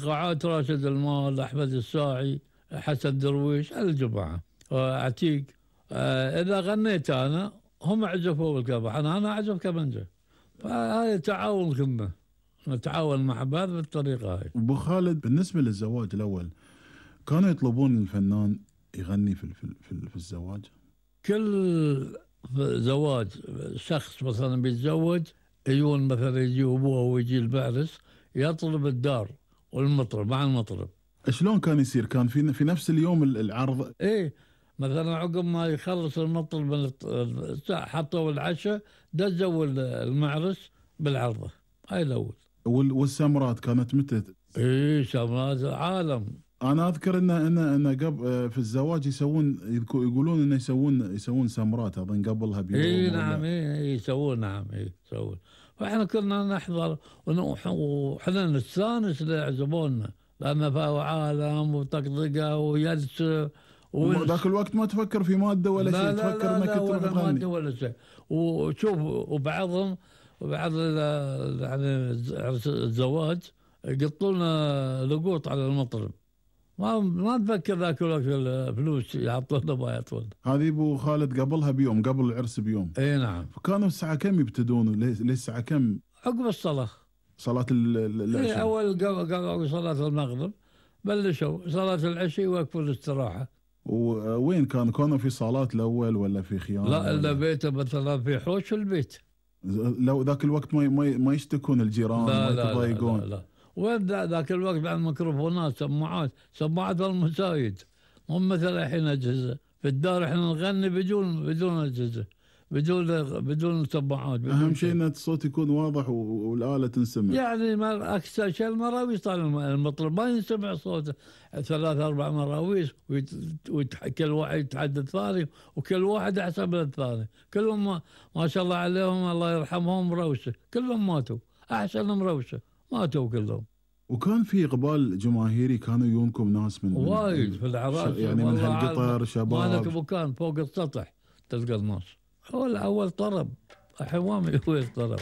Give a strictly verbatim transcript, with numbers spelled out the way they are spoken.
ايقاعات راشد المال، احمد الساعي، حسن درويش، الجماعه عتيق. آه اذا غنيت انا هم عزفوا بالكبح، انا انا اعزف كمانجه. فهذا تعاون كنا نتعاون مع بعض بالطريقه هاي. ابو خالد، بالنسبه للزواج الاول كانوا يطلبون الفنان يغني في في في, في الزواج؟ كل زواج شخص مثلا بيتزوج يجون مثلا يجي ابوه ويجي المعرس يطلب الدار والمطرب مع المطرب. شلون كان يصير؟ كان في في نفس اليوم العرض؟ ايه مثلا عقب ما يخلص المطرب من حطوا العشاء دزوا المعرس بالعرضه هاي الاول. والسمرات كانت متى؟ ايه سمرات عالم. انا اذكر ان ان ان قبل في الزواج يسوون، يقولون انه يسوون يسوون سمرات اظن قبلها بيوم. اي نعم اي يسوون، نعم اي يسوون. فاحنا كنا نحضر وحنا نستانس اللي يعزمونا، لان فيها عالم وطقطقه ويلسه. ذاك الوقت ما تفكر في ماده ولا لا شيء، لا تفكر لا انك لا تروح ولا تغني ماده ولا شيء. وشوف وبعضهم وبعض يعني الزواج يقطوا لنا لقوط على المطرب، ما ما اتذكر ذاك الوقت الفلوس يعطونا ما يعطونا. هذه ابو خالد قبلها بيوم، قبل العرس بيوم. اي نعم. فكانوا الساعه كم يبتدون؟ ليش الساعه كم؟ عقب الصلاه. صلاه العشاء. اي اول قبل صلاه المغرب بلشوا صلاه العشاء يوقفوا الاستراحه. ووين كانوا؟ كانوا في صالات الاول ولا في خيام؟ لا الا بيته مثلا في حوش البيت. لو ذاك الوقت ما ما ما يشتكون الجيران؟ لا ما لا يتضايقون؟ لا, لا, لا. وين ذاك الوقت بعد ميكروفونات، سماعات، سماعات المسايد، مو مثل الحين اجهزه. في الدار احنا نغني بدون بدون اجهزه، بدون بدون سماعات. اهم شيء ان الصوت يكون واضح والاله تنسمع. يعني ما اكثر شيء المراويس طال المطرب ما ينسمع صوته ثلاث اربع مراويس، وكل واحد يتحدث ثاني وكل واحد احسن من الثاني. كلهم ما, ما شاء الله عليهم الله يرحمهم مروشه، كلهم ماتوا احسن مروشه، ماتوا كلهم. وكان في اقبال جماهيري، كانوا يجونكم ناس من وايد في الاعراس يعني من هالقطر شباب؟ مالك مكان فوق السطح تلقى الناس. هو الاول طرب، الحين ما هو طرب.